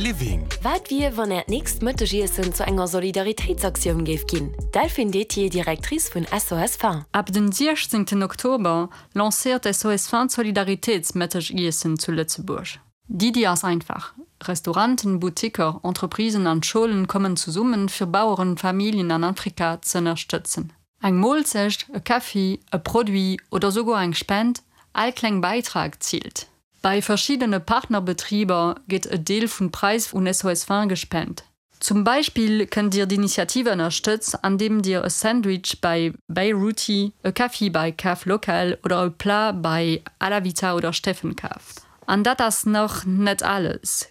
Living. Wat wier, wann Äert nächst Mëttegiessen zu enger Solidaritéitsaktioun géif ginn? Delphine Dethier, Directrice vun SOS Faim. Ab den 16 Oktober lancéiert SOS Faim d'Solidaritéitsmëttegiessen zu Lëtzebuerg. D'Iddi ass einfach, Restauranten, Boutiquer, Entreprisen an Schoulen kommen zesummen, fir Bauerenfamilljen an Afrika z'ënnerstëtzen. Eng Moolzecht, e Kaffi, e Produit oder souguer eng Spend, all kleng Bäitrag zielt. Bei verschiddene Partnerbetriber gétt e Deel vun Präis un SOS Faim gespent. Zum Beispill kënnt Dir d'Initiative ënnerstëtz andeem Dir e Sandwich bei Beiruti, e Kaffi bei Kaf Local oder e Plat bei Alavita oder Steffen kaaft. An dat ass nach net alles,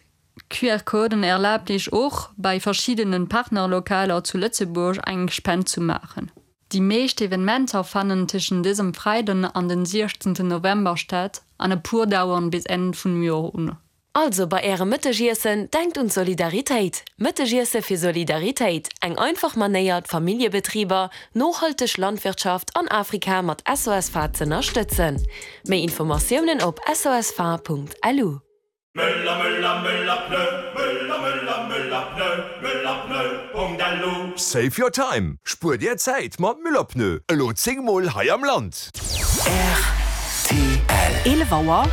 QR-Coden erlaabt Iech och, bei verschiddene Partnerlokaler zu Lëtzebuerg eng Spend zu maachen. Déi meescht Evenementer fannen tëschent dësem Freiden an den 16 November statt an e puer dauern bis Enn vun Joer un. Also bei ärem Mëttegiessen, denkt un d'Solidaritéit! Mëttegiesse fir Solidaritéit, eng einfach Manéier d'Familljebetriber, nohalteg Landwirtschaft an Afrika mat SOS Fa z'ënnerstëtzen. Méi Informatiounen op sosfa.lu. Möller Möller Möller Pneu Möller Möller Möller Pneu Möller Pneu Punkt lu. Save your time! Spuer dir Zäit mat Müller Pneu, elo 10 mol hei am Land! Rtl. 11 Auer.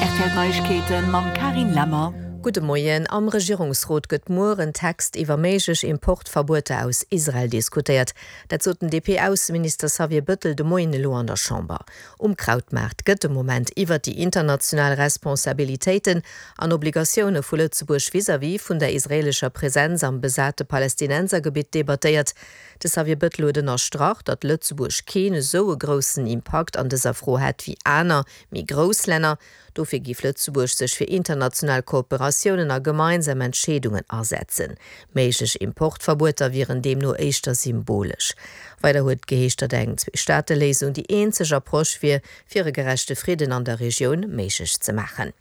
Rtl Neiegkeeten mam Carine Lemmer. Gudde Moien. Am Regierungsrot gëtt muer en Text iwwer méiglech Importverbueter aus Israel diskutéiert. Dat sot den DP-Ausseminister Xavier Bëttel de Moien elo an der Chamber. Um Krautmaart gëtt de Moment iwwer déi international Responsabilitéiten an Obligatioune vu Lëtzebuerg vis-à-vis vun der israeelescher Presenz am besate Palästinensergebitt debattéiert. De Xavier Bettel huet ënnerstrach, datt Lëtzebuerg keen esou e groussen Impakt an dëser Fro hätt wéi aner, méi grouss Länner. Dofir géif Lëtzebuerg sech fir international Kooperatiounen a gemeinsam Entscheedungen asetzen. Méiglech Importverbueter wieren deemno éischter symbolesch. Weider huet et geheescht, datt eng Zweestaateléisung déi eenzeg Approche wier, fir e gerechte Fridden an der Regioun méiglech ze maachen.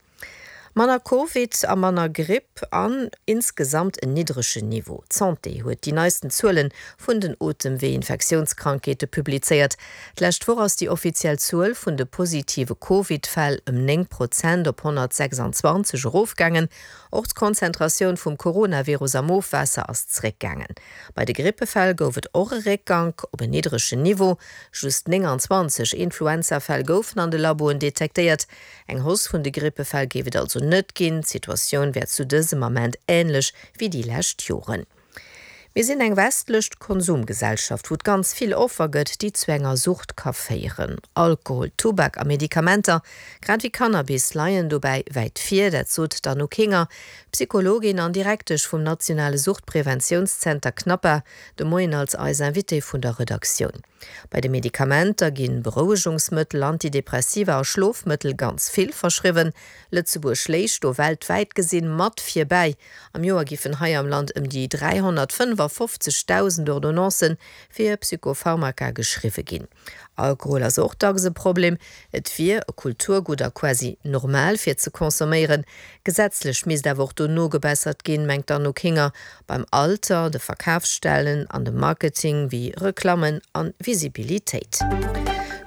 Manner Covid a manner Gripp an insgesamt en niddregen Niveau. D'Santé huet déi neisten Zuele vun den Otemwee-Infektiounskrankheete publizéiert. D'lescht Woch ass déi offiziell Zuel vun de positive Covid-Fäll ëm 9 Prozent op 126 erofgaangen. Och d'Konzentratioun vum Coronavirus am Ofwaasser ass zeréckgaangen. Bei de Grippefäll gouf et och e Réckgank op en niddregen Niveau. Just 29 Influenzafäll goufen an de Laboen detektéiert. Eng Hausse vun de Grippefäll géif et also net ginn. D'Situatioun wär zu dësem Ament änlech wéi déi lescht Joren. Mir sinn eng westlech Konsumgesellschaft, wou et ganz vill Offer gëtt, déi zu enger Sucht ka féieren. Alkohol, Tubak a Medikamenter, grad ewéi Cannabis leien dobäi wäit vir. Dat sot d'Anouk Hinger, Psychologin an Direktesch vum nationale Suchtpreventiounszenter CNAPA, de Moien als eis Invitée vun der Redaktioun. Bei de Medikamenter gi Berouegungsmëttel, Antidepressiva a Schlofmëttel ganz vill verschriwwen. Lëtzebuerg léich do weltwäit gesinn mat virbäi. Am Joer giffen hei am Land ëm déi 355.000 Ordonnancen fir Psychopharmaka geschriwwe ginn. Alkohol ass och dacks e Problem. Et wier e Kulturgutt a quasi normal fir ze consomméieren. Gesetzlech misst awer och do nogebessert ginn, mengt d'Anouk Hinger. Beim Alter, de Verkafsstellen an dem Marketing wéi Reklammen an Visibilitéit.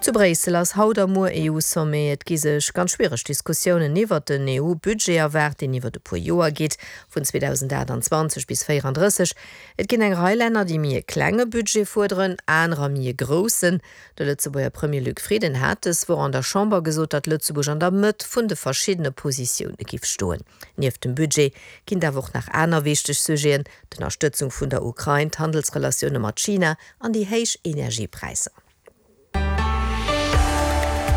Zu Bréissel ass haut a muer EU-Sommet. Et gi sech ganz schwiereg Diskussiounen iwwert den EU-Budget erwaart, deen iwwert e puer Joer geet, vun 2028 bis 34. Et ginn eng Rei Länner, déi méi e klenge Budget fuerderen, anerer méi e groussen. De Lëtzebuerger Premier Luc Frieden hat dës Woch an der Chamber gesot, datt Lëtzebuerg an der Mëtt vun de verschiddene Positioune giff stoen. Nieft dem Budget ginn et awer och nach aner wichteg Sujeten, d'Ënnerstëtzung vun der Ukrain, d'Handelsrelatioune mat China an déi héich Energiepräisser.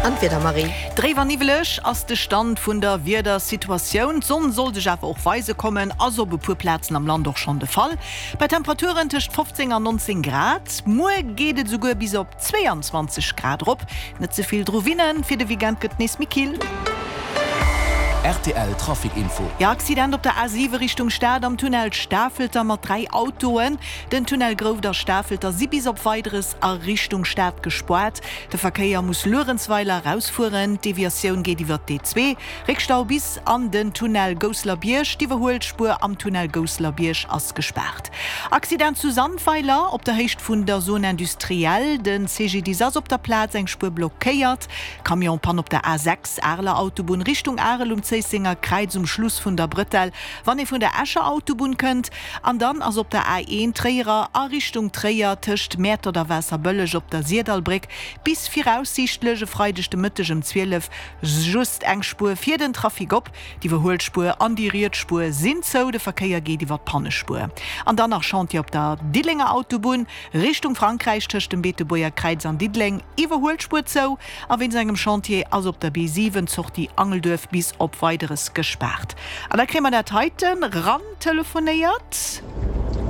An d'Wieder, Marie? Dréif an niwweleg ass de Stand vun der Wiedersituatioun. D'Sonn soll sech awer och weise kommen, ass op e puer Plazen am Land och schonn de Fall. Bei Temperaturen tëscht 15 an 19 Grad. Muer geet et esouguer bis op 22 Grad erop. Net ze vill dru winnen, fir de Weekend gëtt nees méi kill. Rtl Trafic Info. Jo, Accident op der A7 Richtung Stad am Tunnel Stafelter mat 3 Autoen. Den Tunnel Grouft a Stafelter si bis op Weideres a Richtung Stad gespoart. De Verkéier muss Luerenzweiler erausfueren. D'Deviatioun geet iwwer d'D2. Réckstau bis an den Tunnel Gousselerbierg. D'Iwwerhuelspuer am Tunnel Gousselerbierg ass gespaart. Accident zu Sandweiler op der Héicht vun der Zone industrielle. De CGDIS ass op der Plaz, eng Spuer blockéiert. Camion-Pann op der A6, Areler Autobunn Richtung Arel um. Zéissenger Kräiz um Schluss vun der Brëtell, wann ee vun der Escher Autobunn kënnt. An dann ass op der A1 Tréierer a Richtung Tréier tëscht Mäertert a Waasserbëlleg op der Sirdallbréck bis viraussiichtlech e Freideg de Mëtteg ëm 12 just eng Spuer fir den Trafic op. D'Iwwerhuelspuer an déi riets Spuer sinn zou, de Verkéier geet iwwer d'Pannespuer. An dann nach Chantier op der Diddelenger Autobunn Richtung Frankräich tëscht dem Beetebuerger Kräiz an Diddeleng, Iwwerhuelspuer zou. A wéinst engem Chantier ass op der B7 d'Sortie Angelduerf bis op Weideres gespaart. An da kréie mer dat heiten ran telefonéiert.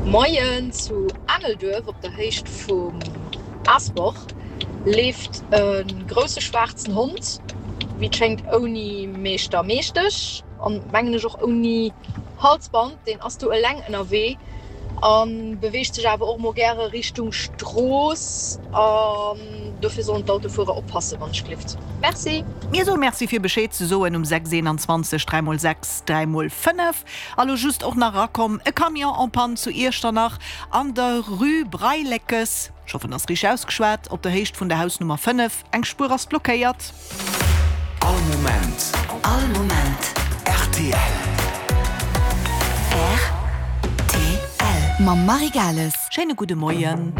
Moien, zu Angelduerf op der Héicht vum Aasbach leeft e grousse schwaarzen Hond, wéi et schéngt ouni Meeschter, Meeschtesch an mengen ech och ouni Halsband. Deen ass do eleng ënnerwee a beweegt sech awer och mol gäre Richtung Strooss an dofir sollen d'Autofuerer oppassen, wann ech glift. Merci. Mir soe Merci fir Bescheed ze soen um 6 21 3 mol 6 3 mol 5. A lo just och nach erakomm, e Camion en panne zu Iechternach an der Rue Breileckes, ech hoffen ass richteg ausgeschwat, op der Héicht vun der Hausnummer 5. Eng Spuer ass blockéiert. All Moment. All Moment. Rtl. Rtl. Mam Marie Gales. Schéine gudde Moien.